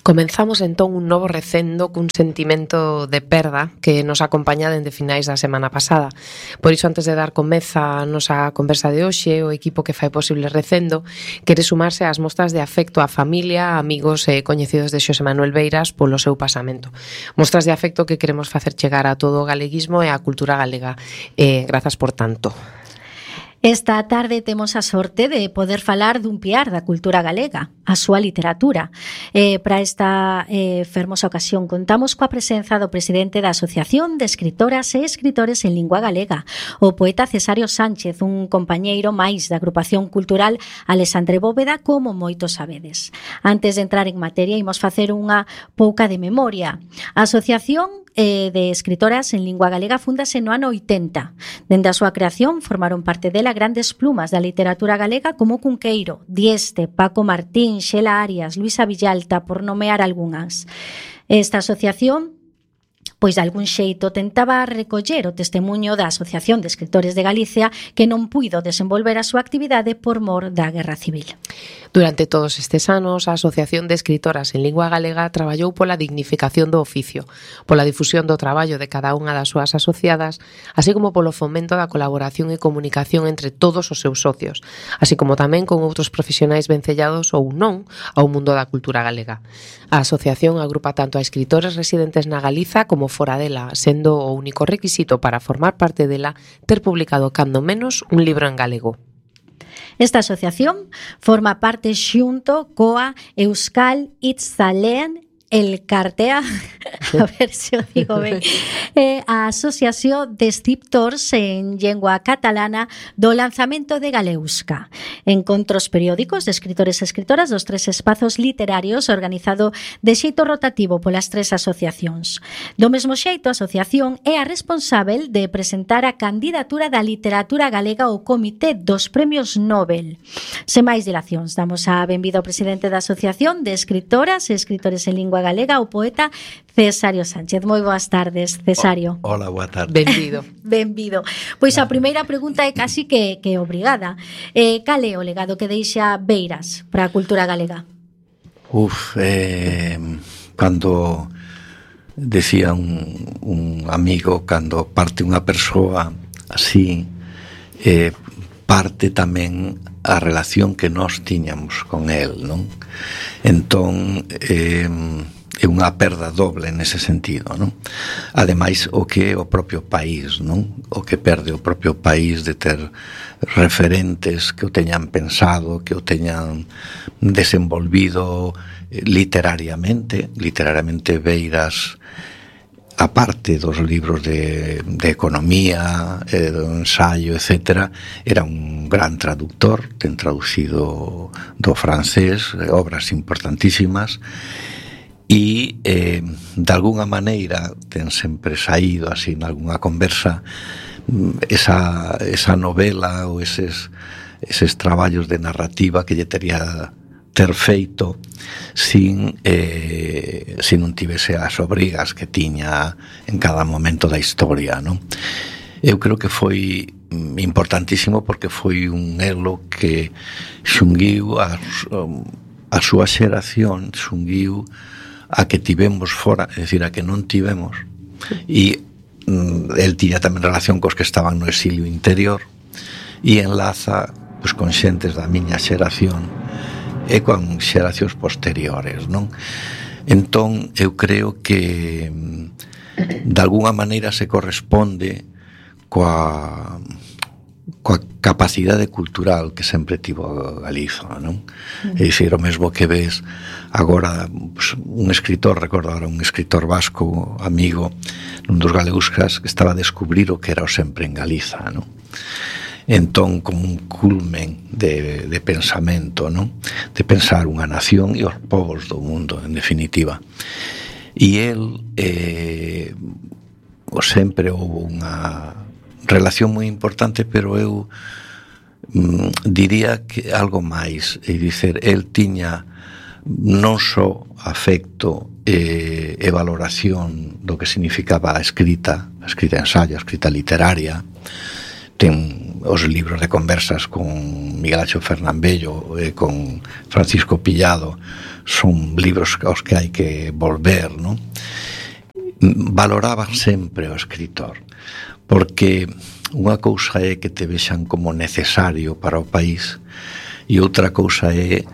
Comenzamos entón un novo recendo cun sentimento de perda que nos acompaña dende finais da semana pasada. Por iso, antes de dar comeza a nosa conversa de hoxe, o equipo que fai posible recendo quere sumarse ás mostras de afecto á familia, amigos e coñecidos de Xosé Manuel Beiras polo seu pasamento. Mostras de afecto que queremos facer chegar a todo o galeguismo e á cultura galega. Grazas por tanto. Esta tarde temos a sorte de poder falar dun piar da cultura galega, a súa literatura. Para esta fermosa ocasión contamos coa presenza do presidente da Asociación de Escritoras e Escritores en Lingua Galega, o poeta Cesario Sánchez, un compañeiro máis da agrupación cultural Alexandre Bóveda, como moitos sabedes. Antes de entrar en materia, imos facer unha pouca de memoria. A Asociación de Escritoras en Lingua Galega fúndase no ano 80. Dende a súa creación formaron parte dela grandes plumas da literatura galega como Cunqueiro, Dieste, Paco Martín, Xela Arias, Luisa Villalta, por nomear algunhas. Esta asociación pois de algún xeito tentaba recoller o testemuño da Asociación de Escritores de Galicia, que non puido desenvolver a súa actividade por mor da Guerra Civil. Durante todos estes anos, a Asociación de Escritoras en Lingua Galega traballou pola dignificación do oficio, pola difusión do traballo de cada unha das súas asociadas, así como polo fomento da colaboración e comunicación entre todos os seus socios, así como tamén con outros profesionais vencellados ou non ao mundo da cultura galega. A asociación agrupa tanto a escritores residentes na Galiza como fora dela, sendo o único requisito para formar parte dela ter publicado cando menos un libro en galego. Esta asociación forma parte xunto coa Euskal Hitzaleen Elkartea, a ver se o digo ben, a Asociación de Escriptors en Lengua Catalana do lanzamento de Galeusca. Encontros periódicos de escritores e escritoras dos tres espazos literarios organizado de xeito rotativo polas tres asociacións. Do mesmo xeito, a asociación é a responsável de presentar a candidatura da literatura galega ao Comité dos Premios Nobel. Sen máis dilacións, damos a benvida ao presidente da Asociación de Escritoras e Escritores en Lingua Galega, o poeta Cesario Sánchez. Moi boas tardes, Cesario. Hola, boa tarde. Benvido. Benvido. Pois a primeira pregunta é casi que obrigada. Cal é o legado que deixa Beiras para a cultura galega? Cando decía un amigo, cando parte unha persoa así, parte tamén a relación que nós tiñamos con el, non? Entón, é unha perda doble nese sentido, non? Ademais, o que é o propio país, non? O que perde o propio país de ter referentes que o teñan pensado, que o teñan desenvolvido literariamente Beiras, aparte dos libros de economía, do ensaio, etc., era un gran traductor, ten traducido do francés obras importantísimas, e de alguna maneira ten sempre saído así en alguna conversa esa novela ou eses traballos de narrativa que lle tería ter feito sin non tivese as obrigas que tiña en cada momento da historia, non? Eu creo que foi importantísimo porque foi un elo que xunguiu a súa xeración, xunguiu a que tivemos fora, é dicir, a que non tivemos, e el tiña tamén relación cos que estaban no exilio interior, e enlaza pois, con xentes da miña xeración e con xeracións posteriores, non? Entón, eu creo que de alguna maneira se corresponde coa capacidade cultural que sempre tivo Galiza, non? É dicir, o mesmo que ves agora, pues, un escritor, recordo agora un escritor vasco, amigo, nun dos Galeuscas, que estaba a descubrir o que era o sempre en Galiza, non? Entón, como un culmen de pensamento, non? De pensar unha nación e os povos do mundo, en definitiva. E el sempre houve unha relación moi importante, pero eu diría que algo máis, é dicer, el tiña non só afecto e valoración do que significaba a escrita ensayo, a escrita literaria. Ten os libros de conversas con Miguel Ángel Fernán Bello e con Francisco Pillado son libros aos que hai que volver, non? Valoraban sempre o escritor, porque unha cousa é que te vexan como necesario para o país e outra cousa é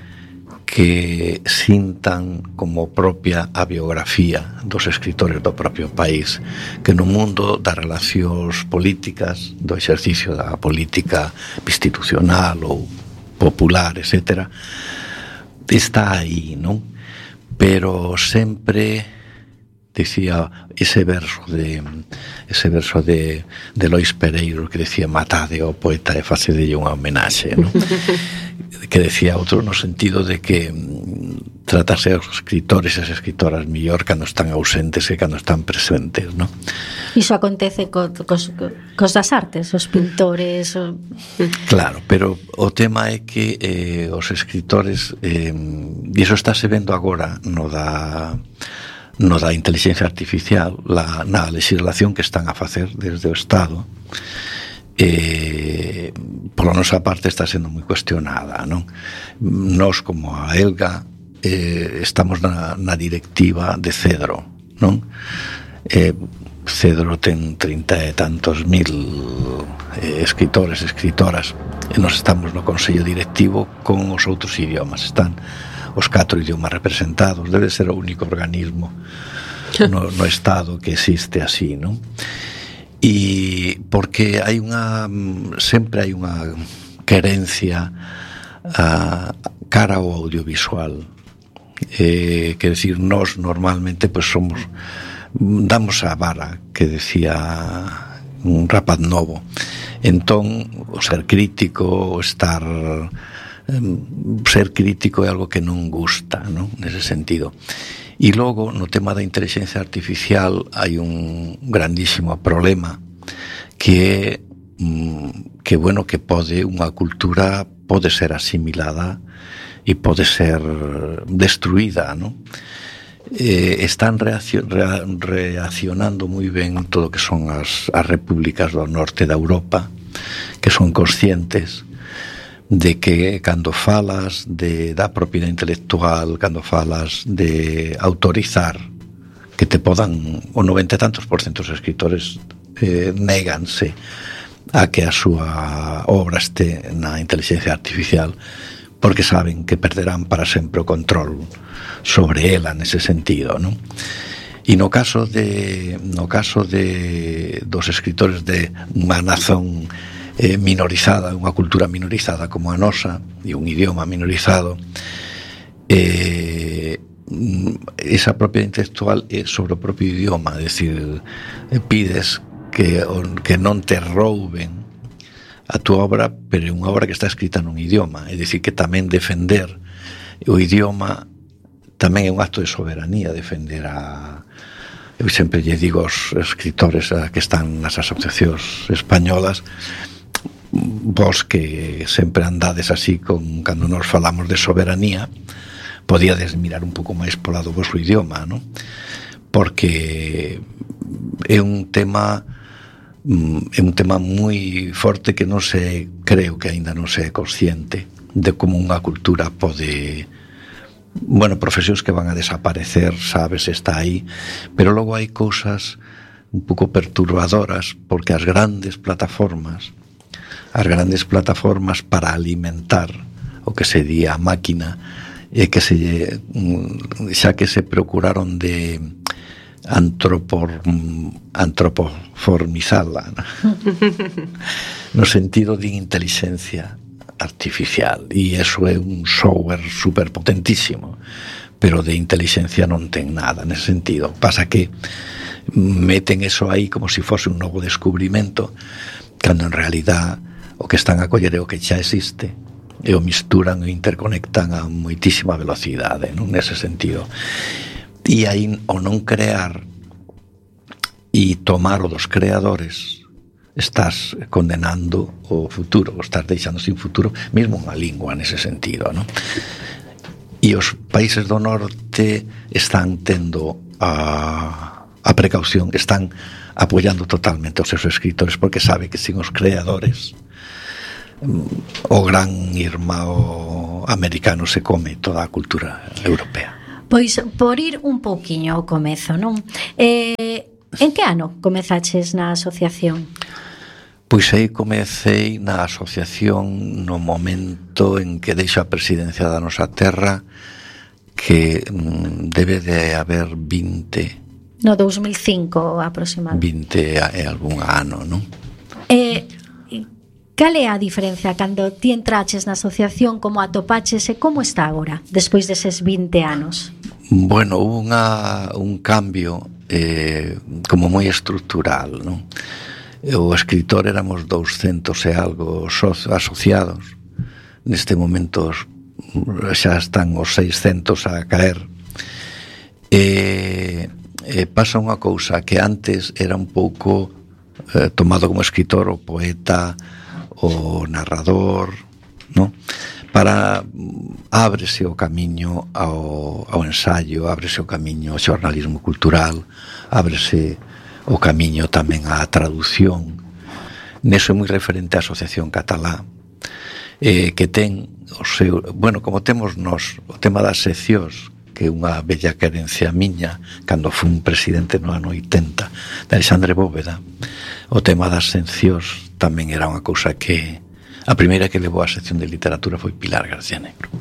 que sintan como propia a biografía dos escritores do propio país, que no mundo das relacións políticas, do exercicio da política institucional ou popular, etc., está aí, non? Pero sempre, dicía ese verso de Lois Pereiro que decía: matade ao poeta e facedelle unha homenaxe, non? Que decía outro no sentido de que tratarse aos escritores e as escritoras mellor cando están ausentes e cando están presentes, non? Iso acontece cos das artes, os pintores... Claro, pero o tema é que os escritores, e iso estáse vendo agora no da inteligencia artificial, na legislación que están a facer desde o Estado, pola nosa parte está sendo moi cuestionada, non? Nós, como a Elga, estamos na directiva de Cedro, non? Cedro ten 30 e tantos mil escritores, escritoras, e nós estamos no Consello Directivo con os outros idiomas. Están os 4 idiomas representados. Debe ser o único organismo no Estado que existe así, non? E porque sempre hai unha querencia cara ao audiovisual, quer decir, nós normalmente pues damos a vara, que decía un rapaz novo. Entón, o ser crítico, ser crítico é algo que non gusta, non? Nese sentido. E logo, no tema da inteligencia artificial, hai un grandísimo problema que bueno, que unha cultura pode ser asimilada e pode ser destruída, non? Están reaccionando moi ben todo o que son as repúblicas do norte da Europa, que son conscientes de que cando falas da propiedade intelectual, cando falas de autorizar que te podan, o 90 e tantos % dos escritores néganse a que a súa obra este na inteligencia artificial, porque saben que perderán para sempre o control sobre ela nese sentido, non? E no caso dos escritores de unha nazón minorizada, unha cultura minorizada como a nosa, e un idioma minorizado, esa propiedade intelectual é sobre o propio idioma, é dicir, pides que non te rouben a túa obra, pero é unha obra que está escrita nun idioma, é dicir, que tamén defender o idioma tamén é un acto de soberanía, defender eu sempre lle digo aos escritores que están nas asociacións españolas: vos que sempre andades así cando nos falamos de soberanía, podíades mirar un pouco máis pola do vosso idioma, non? Porque é un tema moi forte que creo que aínda non se é consciente de como unha cultura pode, profesións que van a desaparecer, sabes, está aí, pero logo hai cousas un pouco perturbadoras, porque as grandes plataformas para alimentar o que se di a máquina, e que xa que se procuraron de antropoformizala, no sentido de inteligencia artificial, e eso é un software super potentísimo, pero de inteligencia non ten nada nese sentido. Pasa que meten eso aí como se fose un novo descubrimento, cando en realidad o que están a coller é o que xa existe, e o misturan e interconectan a moitísima velocidade, non? Nese sentido. E aí, o non crear e tomar o dos creadores, estás condenando o futuro, o estás deixando sin futuro, mesmo unha lingua nese sentido, non? E os países do norte están tendo a precaución, están apoiando totalmente os seus escritores, porque sabe que sin os creadores, o gran irmão americano se come toda a cultura europea. Pois, por ir un pouquiño ao comezo, non? En que ano comezaches na asociación? Pois aí comecei na asociación no momento en que deixo a presidencia da nosa terra, que debe de haber 20... No 2005 aproximadamente. 20 e algún ano, non? Cal é a diferencia cando ti entraches na asociación, como atopaches e como está agora, despois deses 20 anos? Bueno, hubo un cambio como moi estructural, non? O escritor éramos 200 e algo asociados. Neste momento xa están os 600 a caer. Pasa unha cousa que antes era un pouco tomado como escritor o poeta, o narrador, non? Para ábrese o camiño ao ensaio, ábrese o camiño ao xornalismo cultural, ábrese o camiño tamén á traducción. Neso é moi referente a Asociación Catalá, que ten o seu, bueno, como temos nós o tema das seccións, que é unha bella querencia miña cando fun presidente no ano 80 de Alexandre Bóveda. O tema das seccións tamén era unha cousa que a primeira que levou a sección de literatura foi Pilar García Negro.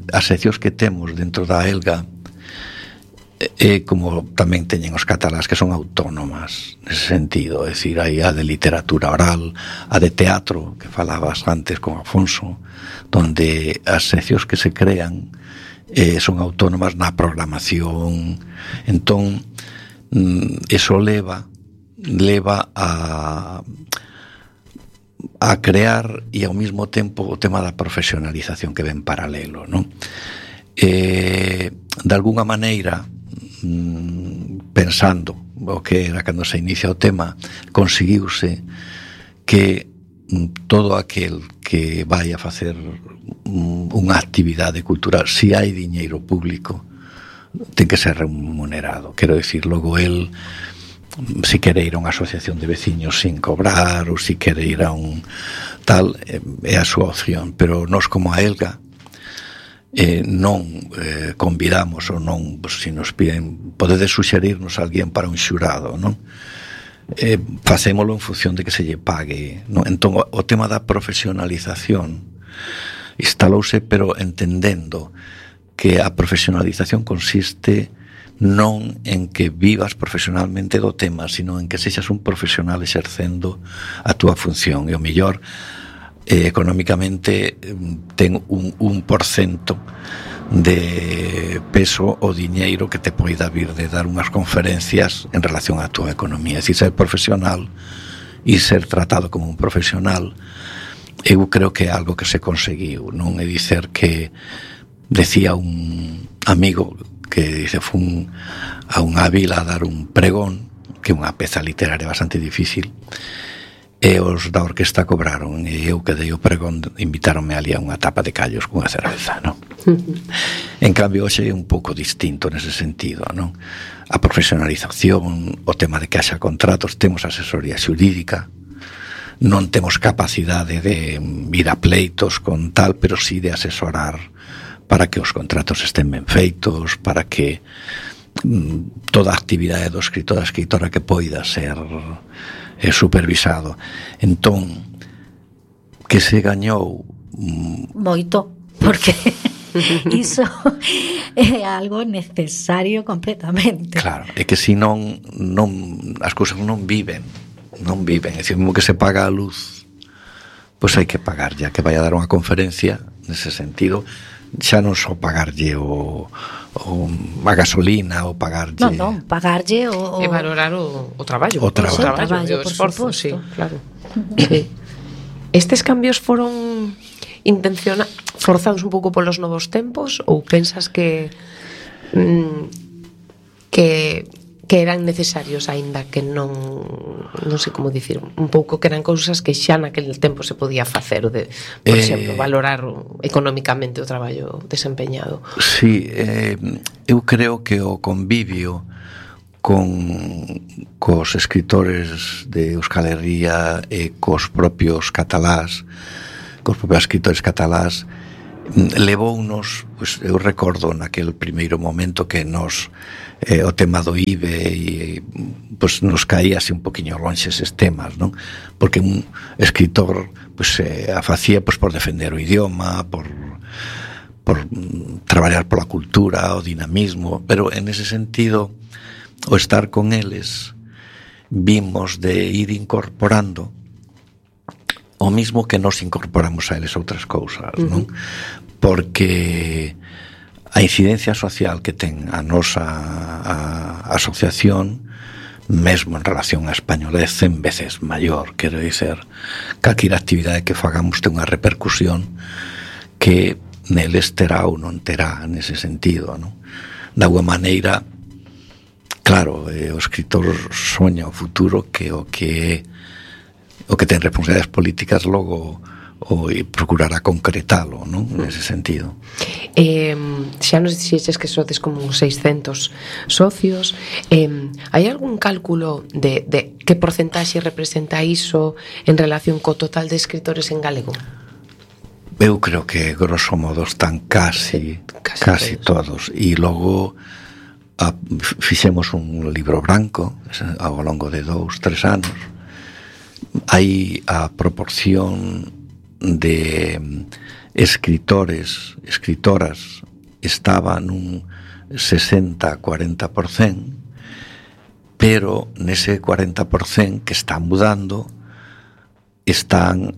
As seccións que temos dentro da Elga, como tamén teñen os catalás, que son autónomas nese sentido, é dicir, hai a de literatura oral, a de teatro que falabas antes con Afonso, donde as seccións que se crean son autónomas na programación. Entón eso leva a crear e ao mesmo tempo o tema da profesionalización que ven paralelo, non? De alguna maneira, pensando o que era cando se inicia o tema, conseguiuse que todo aquel que vai a facer unha actividade cultural, se hai diñeiro público, ten que ser remunerado. Quero dicir, logo el, se quere ir a unha asociación de veciños sin cobrar, ou se quere ir a un tal, é a súa opción. Pero nós, como a Elga, non convidamos ou non, se nos piden, podedes suxerirnos a alguén para un xurado, non? Facémolo en función de que se lle pague, non? Entón, o tema da profesionalización instalouse, pero entendendo que a profesionalización consiste non en que vivas profesionalmente do tema, sino en que sexas un profesional exercendo a túa función. E o mellor, económicamente, ten un 1% de peso o diñeiro que te poida vir de dar unhas conferencias en relación á túa economía. É dicir, ser profesional e ser tratado como un profesional, eu creo que é algo que se conseguiu, non? É dicer que decía un amigo que dice, fun a unha vila a dar un pregón, que é unha peza literaria bastante difícil, e os da orquesta cobraron, e eu que dei o pregón invitáronme ali a unha tapa de callos cunha cerveza, non? En cambio, hoxe é un pouco distinto nese sentido, non? A profesionalización, o tema de que haxa contratos, temos asesoría xurídica, non temos capacidade de ir a pleitos con tal, pero sí de asesorar para que os contratos estén ben feitos, para que toda a actividade do escritor, da escritora que poida ser supervisado. Entón, que se gañou moito, porque iso é algo necesario completamente. Claro, é que se non as cousas non viven, é dicir, mesmo que se paga a luz, pois hai que pagar, ya que vai a dar unha conferencia nese sentido, xa non só pagarlle a gasolina ou pagarlle... Non, pagarlle e valorar o traballo. O traballo, o esforzo, sí, claro. Sí. Estes cambios foron forzados un pouco polos novos tempos, ou pensas que eran necesarios, aínda que non sei como dicir, un pouco que eran cousas que xa naquele tempo se podía facer, por exemplo, valorar económicamente o traballo desempeñado? Sí, eu creo que o convivio cos escritores de Euskal Herria e cos propios catalás cos propios escritores catalás, levounos, pois, eu recordo naquele primeiro momento que nos o tema do IBE e pois nos caía así un poquinho lonxe eses temas, non? Porque un escritor pois a facía pois por defender o idioma, por traballar pola cultura, o dinamismo, pero en ese sentido o estar con eles vimos de ir incorporando o mismo que nos incorporamos a eles outras cousas, non? Porque a incidencia social que ten a nosa asociación, mesmo en relación á españolez, 100 veces maior, quero dizer, calquera actividade que fagamos ten unha repercusión que neles terá ou non terá nese sentido, non? Da alguma maneira, claro, o escritor soña o futuro que o que ten responsabilidades políticas logo o procurará concretalo, non? Nese sentido. Xa nos dixeches que sodes como uns 600 socios. Hai algún cálculo de que porcentaxe representa iso en relación co total de escritores en galego? Eu creo que grosso modo están casi todos. E logo fixemos un libro branco ao longo de 2-3 anos. Hai a proporción de escritores, escritoras estaba nun 60-40%, pero nese 40% que está mudando están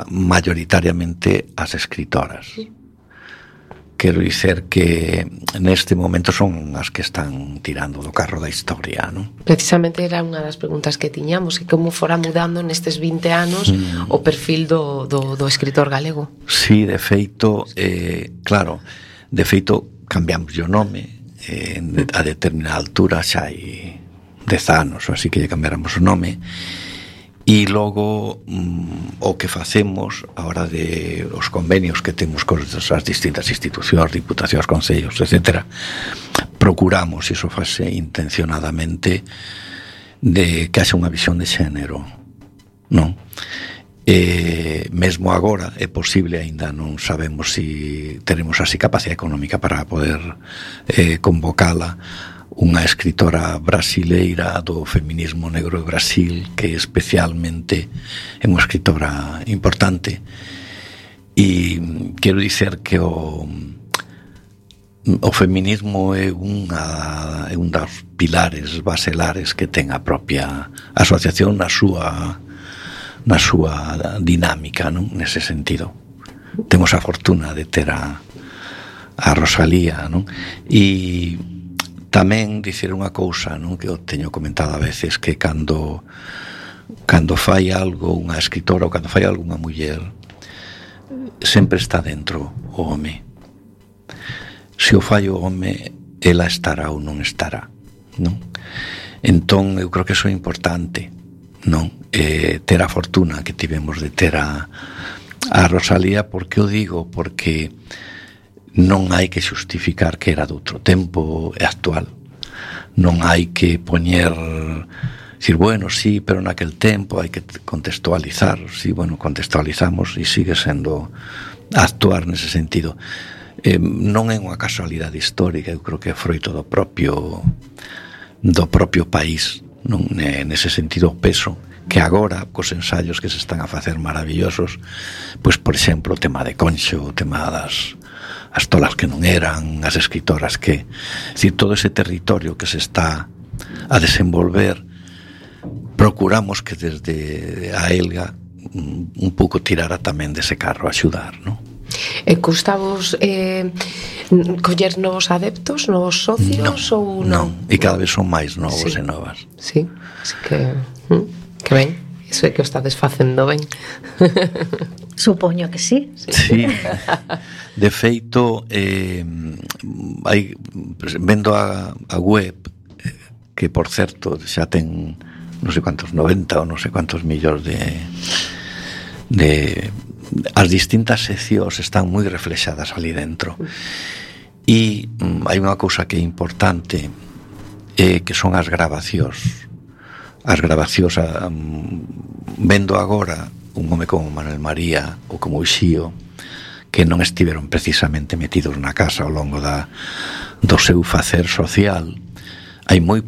mayoritariamente as escritoras. Quero dicer que neste momento son as que están tirando do carro da historia, non? Precisamente era unha das preguntas que tiñamos, que como fora mudando nestes 20 anos o perfil do escritor galego. Sí, de feito, claro, de feito cambiamos o nome a determinada altura, xa hai 10 anos, así que lle cambiáramos o nome. E logo o que facemos a hora de os convenios que temos con as distintas institucións, diputacións, concellos, etc., procuramos, iso fase intencionadamente, de que haxa unha visión de xénero, non? Mesmo agora é posible, aínda non sabemos se teremos así capacidade económica para poder convocala, unha escritora brasileira do feminismo negro de Brasil, que especialmente é unha escritora importante, e quero dicer que o feminismo é un dos pilares baselares que ten a propia asociación na súa dinámica, non? Nese sentido temos a fortuna de ter a Rosalía, non? E tamén dicir unha cousa, non, que eu teño comentado a veces, que cando fai algo unha escritora ou cando fai algo unha muller, sempre está dentro o home. Se o fai o home, ela estará ou non estará, non? Entón, eu creo que iso é importante, non? Ter a fortuna que tivemos de ter a Rosalía. Por que o digo? Porque non hai que xustificar que era de outro tempo e actual. Non hai que poñer, dicir, bueno, sí, pero naquel tempo hai que contextualizar. Sí, bueno, contextualizamos e sigue sendo actuar nese sentido. Non é unha casualidade histórica, eu creo que é froito do propio país, non? Nese sentido, o peso que agora, cos ensaios que se están a facer maravillosos, pois, por exemplo, o tema de Conxo, o tema das as tolas que non eran, as escritoras que... É dicir, todo ese territorio que se está a desenvolver, procuramos que desde a Elga un pouco tirara tamén dese carro, axudar, non? Custavos coller novos adeptos, novos socios ou non? Non, e cada vez son máis novos e novas. Sí, así que ben, iso é que o estades facendo ben. Supoño que sí. Sí. De feito, vendo a web, que por certo xa ten non sei quantos 90 ou non sei quantos millóns de as distintas seccións están moi reflexadas ali dentro. E hai unha cousa que é importante, que son as grabacións. As grabacións, vendo agora un home como Manuel María ou como Uxío, que non estiveron precisamente metidos na casa ao longo do seu facer social. Hai moi